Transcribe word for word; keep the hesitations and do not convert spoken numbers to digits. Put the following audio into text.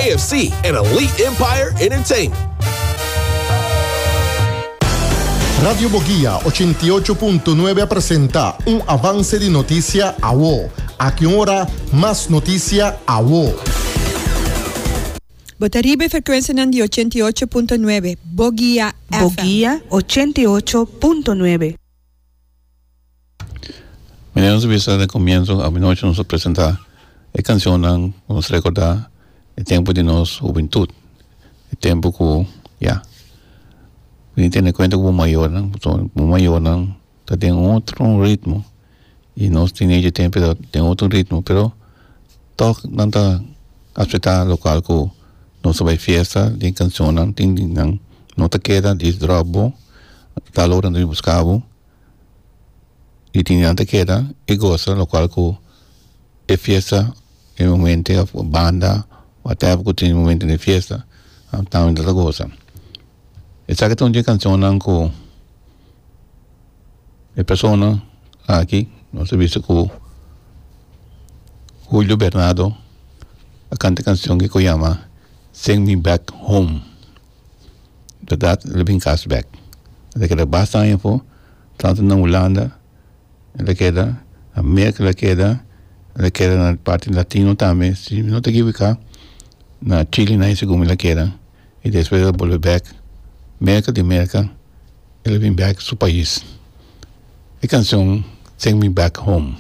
K F C and Elite Empire Entertainment. Radio Boguia ochenta i ocho punto nuebe a presenta un avance di noticia awo. Aki un ora, mas noticia awo. Bo ta riba e frecuencia di ochenta i ocho punto nuebe, Boguia F M. Boguia ochenta i ocho punto nuebe. Manera nos a bisa na comienzo, anochi nos a presenta e cancionnan, nos recorda e tempo di nos hubentud, e tempo cu, ya, mi tene cuenta cu mayornan, bo mayornan ta den otro ritmo y nos teenager tempo tin otro ritmo, pero toch nan ta acepta local cu nos bay fiesta, tin cancionnan, tin nan no ta keda, dis drop bo, tal ora nan busca bo, y tin nan ta keda y goza local cu e fiesta, e momento, banda, whatever cu tin momento di fiesta, tambe ta goza. Esaki ta un di e cancionnan cu e persona aki, nos a bisa cu Julio Bernardo a canta cancion cu yama "Send Me Back Home". Berdad, el a bin cas back. El a keda basta aña afo, tanto na Hulanda, el a keda, America el a keda, el a keda na parti latino tambe, si no ta equivoca, na Chile na segun el a keda, y despues el a bolbe back, America di America, el a bin back su pais. E cancion "Send Me Back Home".